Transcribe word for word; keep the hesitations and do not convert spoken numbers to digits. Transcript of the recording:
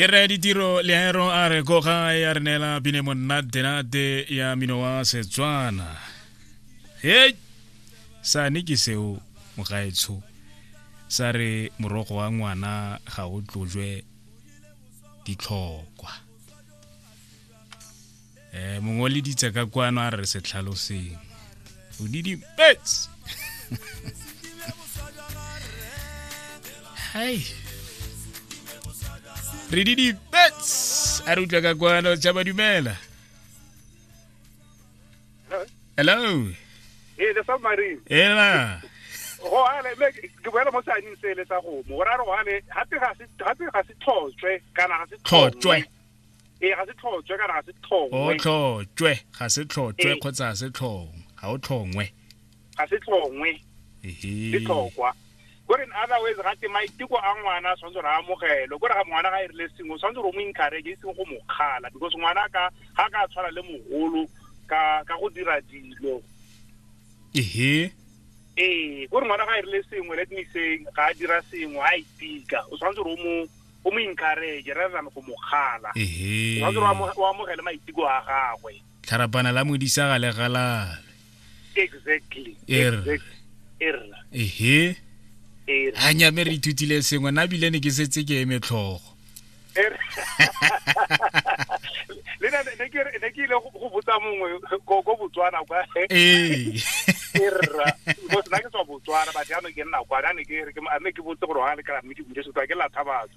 Ke re ditiro leero a re ko gae a re neela bine monnatenate ya mino wa Setswana. Hei, sane ke seo mogaetsho sa re morogo wa ngwana ga o tlojwe ditlhokwa. um mongwe o leditse ka kwano a re se tlhaloseng o didimetse. Hai, re didimetse a re utlwa ka kwano. Tšhaba, dumela. Hello. Ee, le submarine. Ela. Go ale me ke boela mo seaneng sele sa gomo gore a re go ale gape ga se gape ga se tlhotswe kana ga se tlhotswe. Ee, ga se tlhotswe kana ga se tlhongwe. O tlhotswe, ga se tlhotswe Ee. kgotsa ga se tlhongwe, ga o tlhongwe. Ga se tlhongwe. Ehe. Le tlhokwa kore in other ways gate maiteko a ngwana a tshwanetse gore a amogelwe, kore ga ngwana ga e rile sengwe o tshwanetse gore o mo encourage, e seng go mo kgala, because ngwana ka ga ka tshwana le mogolo ka ka go dira dilo. Ehe. Ee, kore ngwana ga e rile sengwe, let me say ga a dira sengwe a itika, o tshwanetse gore o mo o mo encourage rather than go mo kgala. Ehe. O tshwanetse gore o amo- o amogele maiteko a gagwe. Tlharapana la modisa ga le galale. Exactly. Err. Exactly. Err. Ehe. Err. A nyame, re ithutile sengwe nna bile ne ke setse ke eme tlhogo. Err. Le nna ne ke re- ne ke ile go go botsa mongwe ko ko Botswana kwa. Ee. Erra, because nna ke tswa Botswana, but jaanong ke nna kwa, ne ke re ke mme ke botse gore ga le kra mme ke bule setwa ke latha batho.